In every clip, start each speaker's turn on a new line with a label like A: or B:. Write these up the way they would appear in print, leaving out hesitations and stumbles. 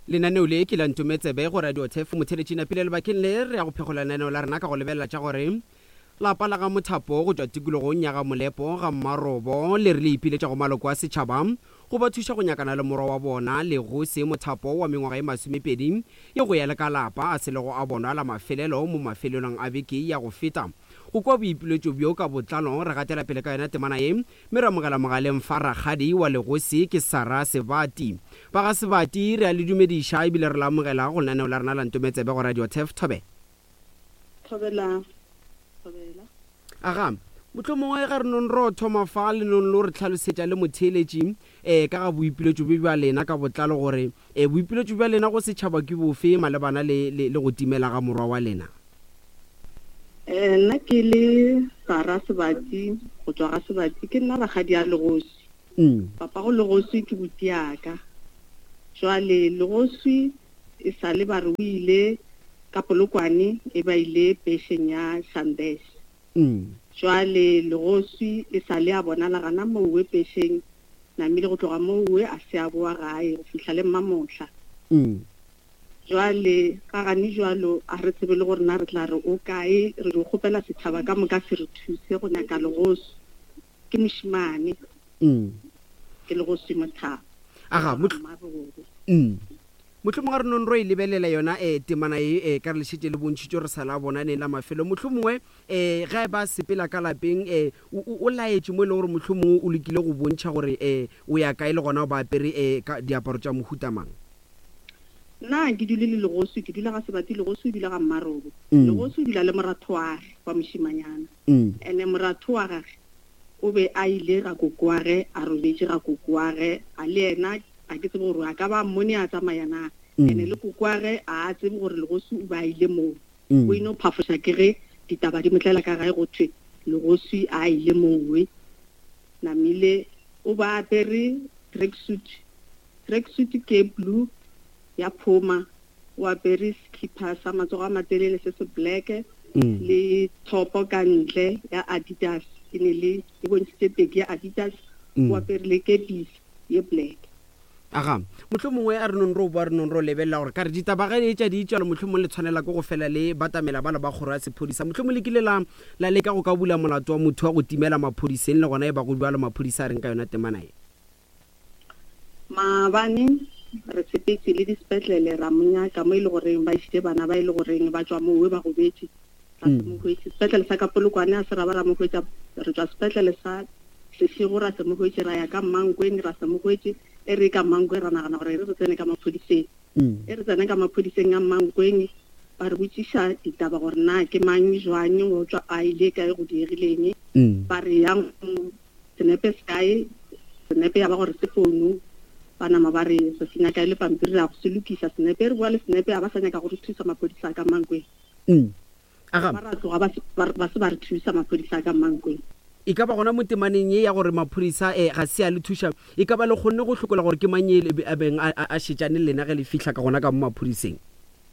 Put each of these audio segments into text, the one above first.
A: Lenaneo le ke la Ntometsebe go Radio Turf. Motheeletši napile lebakeng le re ya go phegola lenaneo la rena ka go lebelela tša gore lapa la ga Mothapo go tšwa tikologong ya ga Molepo ga Mmarobo le re le ipiletša go maloko a setšhaba go ba thuša go nyakana le morwa wa bona Legosi Mothapo wa mengwaga ye masomepedi ye go ya le ka lapa a selego a bonwa la mafelelo mo mafelelong a beke ya go feta. Go kwa boipiletšo bjo ka botlalo re gatela pele ka yona temana ye Mme re amogela mogaleng fa rakgadi wa legosi ke Sarah Sebati. Ba ga Sebati re a le dumediša ebile re le amogela go lenaneo la rena la Ntometsebe go Radio Turf. Thobela.
B: Thobela. Thobela.
A: Aga, mohlomongwe ga re nong ro thoma fa le nong lo re hlalosetša le motheeletši um ka ga boipiletšo bjo bja lena ka botlalo gore um boipiletšo bja lena go setšhaba ke bofe malebana le, le, le go timela ga morwa wa lena.
B: Eh, nna ke le Sara Sebati go tswa ga Sebati ke nna rakgadi ya Legoswi.
A: Mm.
B: Papa go Legoswi ke buti yaka. Jwale Legoswi e sale ba re o ile ka Polokwane e ba ile pešeng ya Shandesh.
A: Mm.
B: Jwale Legoswi e sale a bonala gana mowe pešeng namile go tloga mowe a se a boa gae go fihla le mmamohla.
A: Mm.
B: Jwale, ga gane jwalo, a re tsebe le gore na re tla re o kae. Re dio kgopela setšhaba ka moka se re thuse go nyaka Legoswi. Ke mošemane. Ke Legoswi Mothaba.
A: Aga,
B: Ga Mmarobe.
A: Mohlomongwe ga re nong ro e lebelela yona eh, temana ye eh, ka re le šetše le bontšhitšwe re sa la bona neng la mafelo. Mohlomongwe eh, ge a ba sepela ka lapeng eh, o, o, o laetše mo e leng gore mohlomongwe o lekile go bontšha gore eh, o ya kae le gona o ba apere eh, ka diaparo tša mohuta mang.
B: Nna ke dule le Legoswi, ke dula ga Sebati, Legoswi o dula ga Mmarobo. Legoswi o dula le moratho wa gage wa mošimanyana. Ene moratho wa gage o be a ile ga koko wa ge, a robetše ga koko wa ge, a le yena ga ke tsebe gore a ka ba a mmone a tsamaya na. Ene le koko wa ge a a tsebe gore Legoswi o be a ile moo. O ino phafoša ke ge ditaba di mo tlela ka gae go thwe Legoswi a ile mowe. Namile o be a apere tracksuit Tracksuit ke blue ya Puma, o apere sekhipha sa matsogo a matelele se se black le thopo ka ntle ya Adidas e ne le e bontšhitše teki ya Adidas, o apere le kepisi ye black.
A: Aga, mohlomongwe a re nong ro boa re nong ro lebelela gore ka re ditaba ge etša di tšwalo mohlomong le tshwanela ke go fela le batamela bala ba kgoro ya sephodisa. Mohlomong le kile la la leka go ka bula molato wa motho wa go timela maphodiseng le gona e ba go bjalo maphodisa a reng ka yona temana ye?
B: Maabane re sepetše le disepetlele ra mo nyaka mo e le goreng ba išitše bana ba e le goreng ba tšwa mowe ba gobetše, ra se mo hwetše. Sepetlele sa ka Polokwane a se ra ba ra mo hwetša, re tšwa sepetlele sa Seshego ra se mo hwetše, ra ya ka Mmankweng ra se mo hwetše. E re ka Mmankweng ra nagana gore e re re tsene ka maphodiseng. E re tsene ka maphodiseng a Mmankweng ba re botšiša ditaba gore na ke mang jwang, o tšwa a ile kae, go diegileng. Ba re yang Senepe se kae? Senepe ya ba gore se founu. Ba nama ba re re se nyaka e le pampiri ra go se lokisa. Senepe e re bua le Senepe a ba sa nyaka go re thusa maphodisa a ka Mankweng.
A: Aga.
B: Ba ra tloga ba se ba se ba re thusa maphodisa a ka Mankweng.
A: E ka ba gona mo temaneng ye ya gore maphodisa eh ga se a le thuša, e ka ba le kgonne go hlokola gore ke mang ye a beng a a šetšane le lena ge le fihla ka gona ka mo maphodiseng?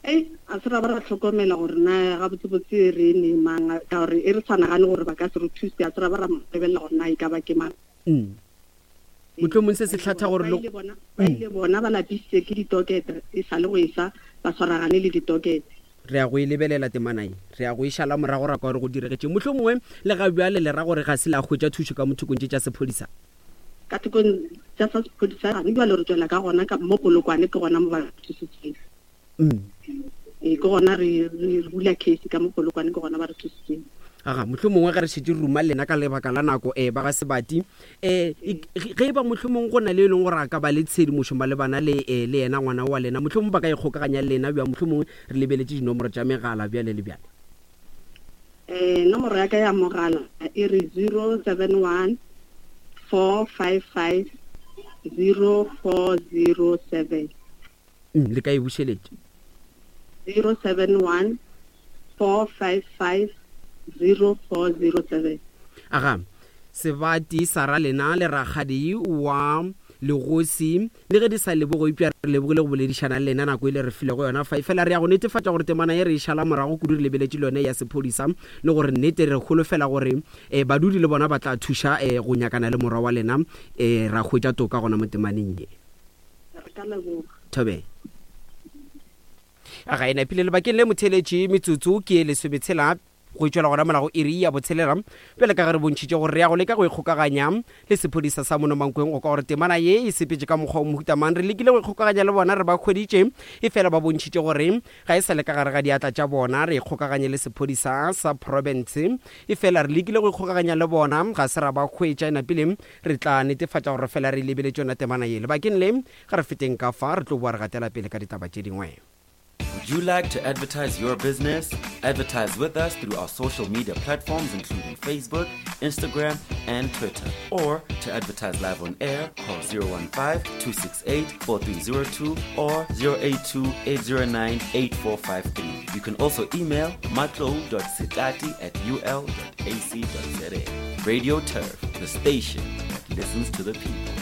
B: Ei, a se ra ba ra hlokomela gore na gabotsebotse re ne mang, ka gore e re sa nagane gore ba ka se re thuse, a se ra ba ra mo lebelela gore na e ka ba ke mang.
A: Mm. Mohlomong se se hlatha gore
B: le bona ba ile bona ba lapisitse ke ditokete e sa le go esa ba swaragane le ditokete.
A: Re ya go e lebelela temana ye, re ya go e šala morago ra kwa gore go diregetšeng. Mohlomongwe le ga bjale le ra gore ga se la hwetša thušo ka mo thokong tše tša sephodisa.
B: Ka thokong tša sa sephodisa gane bjale re tšwela ka gona ka mo Polokwane ke gona mo ba thusitseng. Ee, ke gona re re bula case ka mo Polokwane ke gona ba re thusitseng.
A: Aga, mohlomongwe ge re šetše re ruma lena ka lebaka la nako um ba ga Sebati um ge e ba mohlomongwe go na le e leng gore a ka ba le tshedimošo malebana le um le yena ngwana wa lena, mohlomongwe ba ka ikgokaganya le lena bjang, mohlomongwe re lebeletše dinomoro tša megala bjale le bjale.
B: Um nomoro ya ka ya mogala e re 071 455 0407.
A: Mm, le ka e bušeletša.
B: 071 455 0407.
A: Aga, Sebati sa ra lena le rakgadi wa Legosi, le ge di sa lebogo eupša re lebogile go boledišana le lena nako e le re filego yona fa. Efela re ya go netefatša gore temana ye re e šala morago kudu re lebeletše le yone ya sephodisa le gore nnete re holofela gore eh, badudi le bona ba tla thuša eh, go nyakana le morwa wa lena eh, ra hwetša toka gona mo temaneng ye.
B: Re ka leboga.
A: Thobela. Ga e napile lebakeng le motheeletši, metsotso ke e lesometshela go tšwela gona mola go iri ya botshelela. Bjale ka ge re bontšhitše gore re ya go leka go ikgokaganya le sephodisa sa mono Mankweng go kwa gore temana ye e sepetše ka mokgwa o mohuta mang, re lekile go ikgokaganya le bona, re ba hweditše, efela ba bontšhitše gore ga e sa le ka gare ga diatla tša bona. Re ikgokaganye le sephodisa sa profense, efela re lekile go ikgokaganya le bona, ga se ra ba hwetša. E napile re tla netefatša gore fela re lebeletše yona temana ye. Lebakeng le, ga re feteng ka fa, re tlo boa re gatela pele ka ditaba tše dingwe.
C: Would you like to advertise your business? Advertise with us through our social media platforms including Facebook, Instagram, and Twitter. Or to advertise live on air, call 015-268-4302 or 082-809-8453. You can also email matlo.sitati at ul.ac.za. Radio Turf, the station that listens to the people.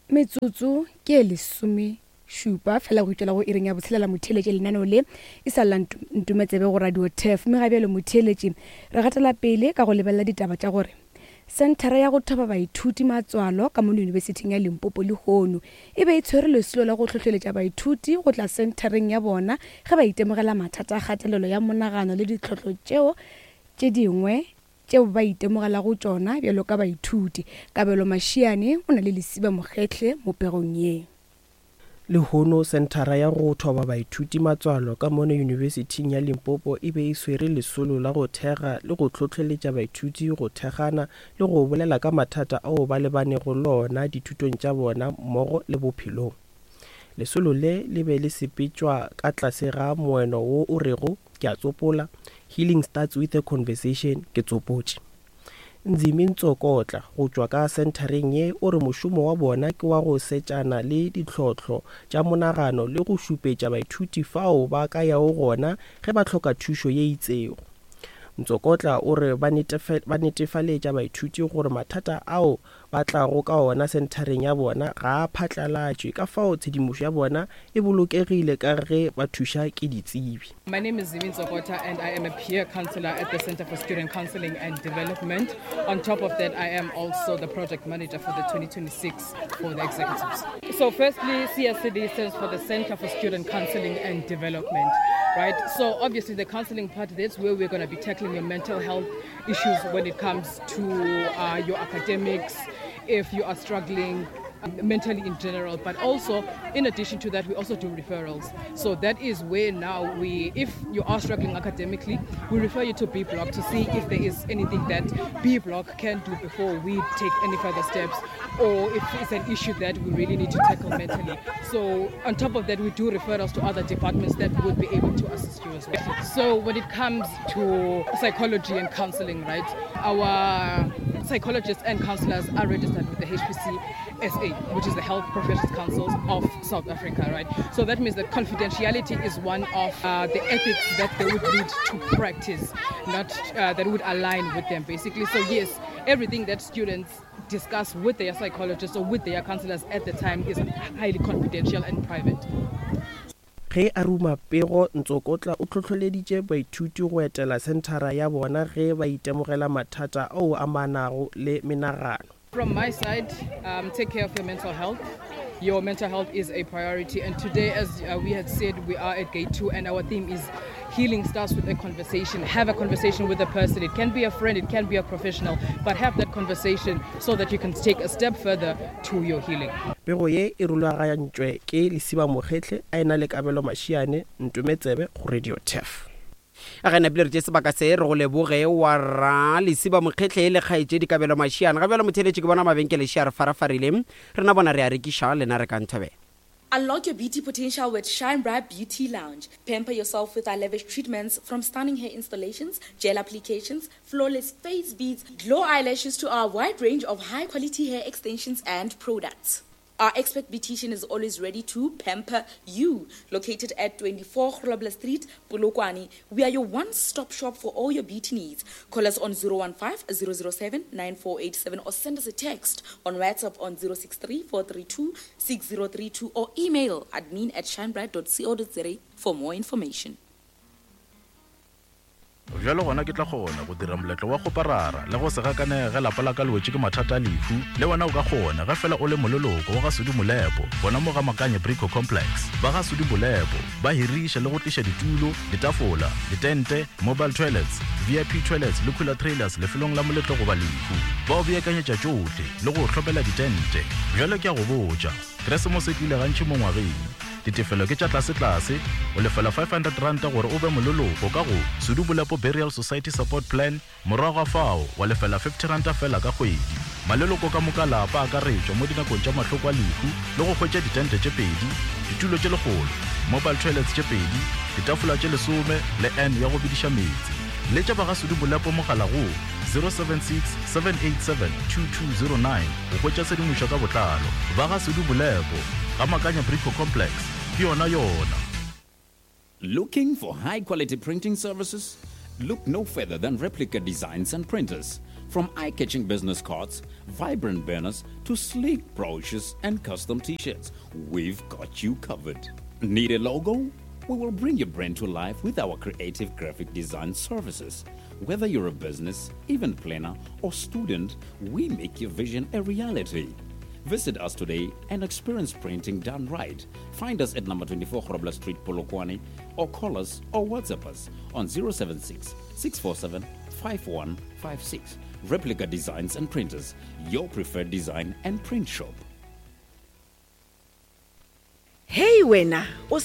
D: Metsotso ke e lesomešupa fela go itšwela go iring ya botshelela motheeletši lenaneo le e sa lla ntumetsebe go radio tef mme ga bjalo motheeletši re gatela pele ka go lebelela ditaba tša gore senthara ya go thoba baithuti matswalo ka mono yunibesithing ya limpopo lehono e be e tshwere lesolo la go hlohleletša baithuti go tla senthareng ya bona ge ba itemogela mathata a kgatelelo ya monagano le ditlhohlo tšeo tše dingwe tšeo ba itemogelago tšona bjalo ka baithuti. Kabelo Mashiane o na le Lesiba Mokgehle mo pegong ye.
E: Lehono Senthara ya go Thoba Baithuti Matswalo ka mono Yunibesithing ya Limpopo e be e swere lesolo la go thekga le go hlohleletša baithuti go thekgana le go bolela ka mathata ao ba lebanego le ona dithutong tša bona mmogo le bophelong. Lesolo le le be le sepetšwa ka tlase ga moeno wo o rego, Ke a tsopola, Healing starts with a conversation, ke tsopotše. Nzimi Ntsokotla go tšwa ka senthareng ye o re mošomo wa bona ke wa go setšana le ditlhohlo tša monagano le go šupetša baithuti fao ba ka yago gona ge ba hloka thušo ye itsego. Ntsokotla o re ba netefaletša baithuti gore mathata ao ba tlago ka ona senthareng ya bona ga a phatlalatšwe, ka fao tshedimošo ya bona e bolokegile ka ge ba thuša ke ditsebi.
F: My name is Zimi Ntsokota and I am a peer counselor at the Center for Student Counseling and Development. On top of that, I am also the project manager for the 2026 for the executives. So firstly, CSCD stands for the Center for Student Counseling and Development, right? So obviously the counseling part, that's where we're going to be tackling your mental health issues when it comes to uh, your academics, if you are struggling mentally in general. But also, in addition to that, we also do referrals. So that is where now we, if you are struggling academically, we refer you to B Block to see if there is anything that B Block can do before we take any further steps or if it's an issue that we really need to tackle mentally. So on top of that, we do referrals to other departments that would be able to assist you as well. So when it comes to psychology and counseling, right, our psychologists and counselors are registered with the HPC SA, which is the Health Professions Councils of South Africa, right? So that means that confidentiality is one of uh, the ethics that they would need to practice, not uh, that would align with them, basically. So yes, everything that students discuss with their psychologists or with their counselors at the time is highly confidential and private.
E: Ge a ruma pego, Ntsokotla o hlohleleditše baithuti go etela senthara ya bona ge ba itemogela mathata ao amanago le menagano.
F: From my side, um, take care of your mental health. Your mental health is a priority. And today, as uh, we had said, we are at gate two, and our theme is healing starts with a conversation. Have a conversation with a person. It can be a friend, it can be a professional, but have that conversation so that you can take a step further to your healing.
E: Pego ye e rulagantšwe ke Lesiba Mokgehle a e-na le Kabelo Mashiane, Ntume Tsebe go Radio Turf.
A: A ge napile re tše sebaka se re go leboge wa ra Lesiba Mokgehle le kgaetšedi Kabelo Mashiane. Ga bjalo motheeletši ke bona mabenkele še a re farafarile. Rena bona re a rekiša, lena rekang thobela.
G: Unlock your beauty potential with Shine Bright Beauty Lounge. Pamper yourself with our lavish treatments from stunning hair installations, gel applications, flawless face beads, glow eyelashes to our wide range of high quality hair extensions and products. Our expert beautician is always ready to pamper you. Located at 24 Grobler Street, Polokwane, we are your one-stop shop for all your beauty needs. Call us on 015 007 9487 or send us a text on WhatsApp on 063 432 6032 or email admin at shinebright.co.za for more information.
H: Bjalo gona ke tla kgona go dira moletlo wa kgoparara le go se gakanege ge lapa la ka le wetše ke mathata a lehu. Le wena o ka kgona ge fela o le moleloko wa ga Sudi Molepo gona mo ga Makanye Brico Complex. Ba ga Sudi Molepo ba hiriša le go tliša ditulo, ditafola, ditente, mobile toilets, VIP toilets le cooler trailers lefelong la moletlo goba lehu. Ba o beakanyetša tšohle le go o hlomela ditente. Bjalo ke a go botša, Keresemose e tlile gantši mo ngwageng. Ditefelo ke tša tlasetlase, o lefela R500 gore o be moleloko ka go Sudu Bolepo Burial Society Support Plan, morago ga fao wa lefela R50 feela ka kgwedi. Maleloko ka moka a lapa a akaretšwa mo dinakong tša mahloko a lehu le go hwetša ditente tše pedi, ditulo tše lekgolo, mobile toilets tše pedi, ditafola tše lesome le urn ya go bediša meetse. Letša ba ga Sudu Bolepo mogala go 076 787 2209 go hwetša tshedimošo ka botlalo. Ba ga Sudu Bolepo. Ga Makanya Brico Complex, ke yona yona.
I: Looking for high quality printing services? Look no further than Replica Designs and Printers. From eye catching business cards, vibrant banners, to sleek brochures and custom t shirts, we've got you covered. Need a logo? We will bring your brand to life with our creative graphic design services. Whether you're a business, event planner, or student, we make your vision a reality. Visit us today and experience printing done right. Find us at number 24 Grobler Street, Polokwane, or call us or WhatsApp us on 076 647 5156. Replica Designs and Printers, your preferred design and print shop.
J: Hei wena, o